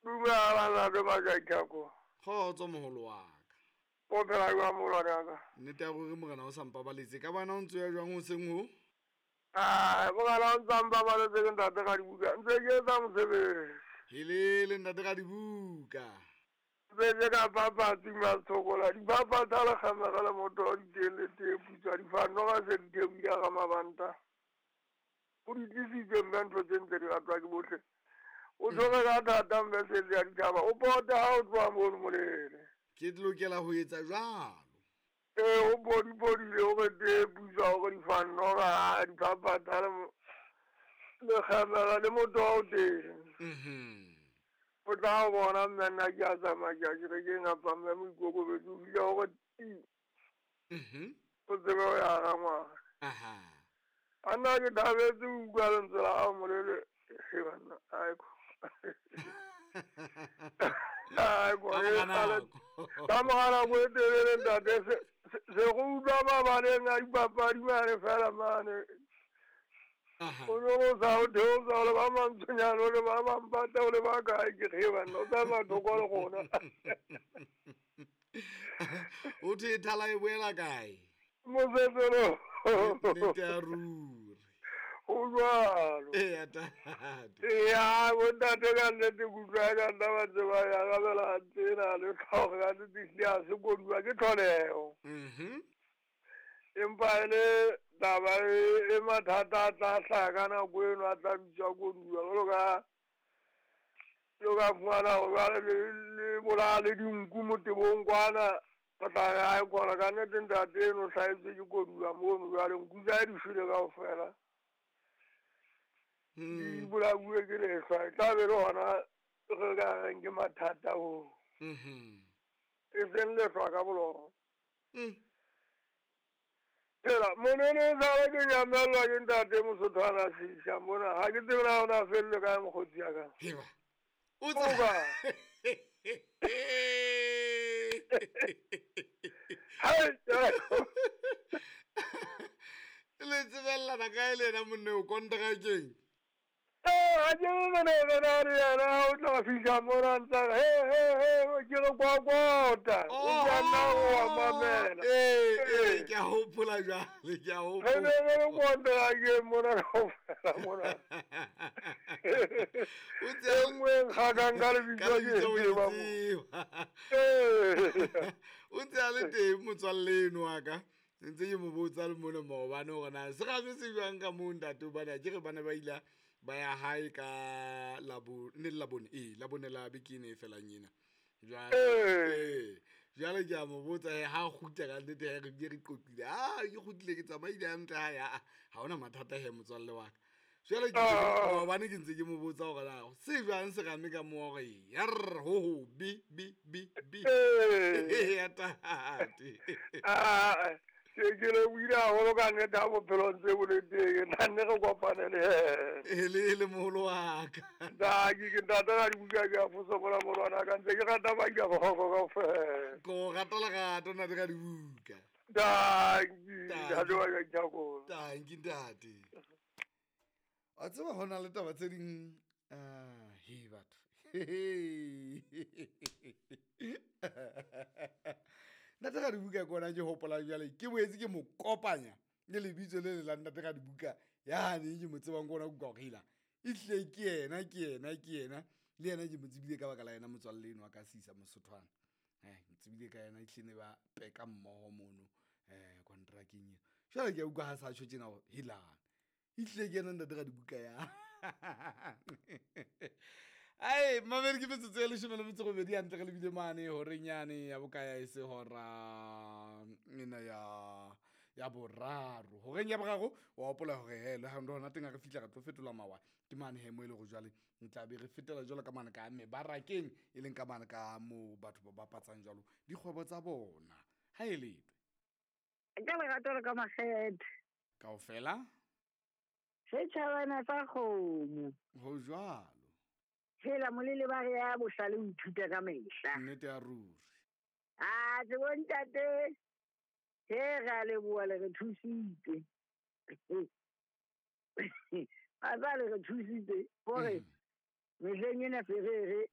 Dumela ntate Majakako. Kgotso moholo wa ka. O phela jwang moholwane wa ka? Nnete ya ruri morena o sa mpabaletse. Ka bana o ntse ya jwang hoseng ho? Ai, morena o ntse a mpabaletse ke ntate Radibuka. Ntse ke etsa mosebetsi. Helele ntate Radibuka. Ntse ke ka papatsi matshokola. Dipapatsa le kgamega le motho wa diteng le tee putswa difanno ka se di theohile ga mabanta. O di tlisitse mme ntho tse ntse di ratwa ke bohle. O tshwere ka thata mme setse ya ditjhaba. O pote ha o tloha mono molele. Ke lokela ho etsa jwalo. Ee, o podipodile o re tee putswa o re difanno ka dipapatsa le lekgemela le motho wa o teng. O tla o bona mme nna ke a tsamaya ke a kerekeng apa mme moikokobetso o fihla o re ti. O tsebe ho ya ga ngwana. Aha. A nna ke thabetse ho utlwa lentswe la hao molele. He banna, aiko. Aiko, Ka mora nako. Ka mora nako e telele ntate, se go utlwa mabaleng a dipapadi mane fela mane. O no o sa o theosa o le ba mantshonyane o le ba mampata o le ba kae ke ge banna o tsamaya thoko le gona. O thwe thala e boela kae? Mosetselo. Nnete ya ruri. Ho jwalo. Eya tate. Eya, bontate ka nnete ke utlwa ka nna ba ntse ba ya arabela tsena le tlhogo ka nnete ehlile ha se koduwa ke tlholeho. Empa e le taba e mathata a tla hlaha ka nako eno a tla bitswa koduwa jwalo ka lo ka fumana hore jwale le bolaya le dinku motebong kwana o tla re ae kona ka nnete ntate eno o hlahetswe ke koduwa mono jwale nku tsa hae di shwele kaofela. Di bolauwe ke lehlwa e tla be le hona re ka reng ke mathata oo. E seng lehlwa ka bolona. Phela monene e sale ke nyamellwa ke ntate Mosothwana Sisha mona ha ke tsebe na o na fellwe kae mokgotsi ya ka. Heba. O O tsa ba. Hai. Le tsebellana kae le yena monne o kontrakeng? Ha ke mone re na le yena o tla fihla mona ntsa he he he ke re kwakota. O tla nna o a mamela. Ee, ke a hopola jwale, ke a Re hopola. ne re le kontrakeng mona kaofela mona. O E tse nngwe e nkgakang ka lebitso ka ke lebitso o e e tseba mo. tseba. Ee. O ntse a le teng motswalle eno wa ka. Ntse ke mo botsa le mona maobane hore na serame se jwang ka moo ntate hobane akere ba ne ba ile ba ya hae ka ne le Labone, ee, Labone la beke ena e felang ena. Jwale, Ee. ee, jwale ke a mo botsa he ha kgutla ka nnete he re bile re qoqile. Ah, ke kgutlile ke tsamaile hantle hae, ah, ha hona mathata he motswalle wa ka. Jwale ke maobane ke ntse ke mo botsa hore na se jwang serame ka moo hore yarr, ho ho, bi, bi, bi, bi. Ee. Ya tate. Ah, ke lebohile haholo ka nnete ha bophelo ntse bo le teng. Nna nne re kopane le yena. E le moholo wa ka. Ntate, ke ntate ka dibuka ke a fosokola molwana ka ntse ke rata Majabogo kaofela. Ko rata lerato ntate ka dibuka. Tanki, ntate wa ka Ditlhakolo. Tanki ntate. Wa tseba ho na le taba tse ding, he batho. Ntate ka dibuka ke ona ke hopola jwale ke boetse ke mo kopanya le lebitso le le la ntate ka dibuka yane ke mo tsebang ke ona kuka hore hela ehlile ke yena, ke yena, ke yena. Le yena ke mo tsebile ka baka la yena motswalle eno wa ka Sisa Mosothwana. Mo tsebile ka yena ehlile ne ba peka mmoho mono, kontrakeng eo. Jwale ke a utlwa ha sa tjho tjena hore helang. Ehlile ke yena ntate ka dibuka ya. Ai, mamedi ke metsotso e 18 hantle re lebile mane horeng yane ya bokaya e se hora ena ya boraro. Horeng ya boraro wa hopola hore he le ha hona teng ha re fihla re tlo fetola mawa. Ke mane he mo e leng hore jwale re tla be re fetela jwalo ka mane ka mebarakeng e leng ka mane ka moo batho ba bapatsang jwalo dikgwebo tsa bona. Ha e letwe. Ka lerato le ka makgethe. Kaofela? Setjhabana sa kgomo. Ho jwalo. Hela molele ba re ya bohlale o ithuta ka mehla. Nnete ya ruri. Ah, tsebo ntate. He re a leboha le re thusitse. Ba tla le re thusitse hore mehleng ena se re re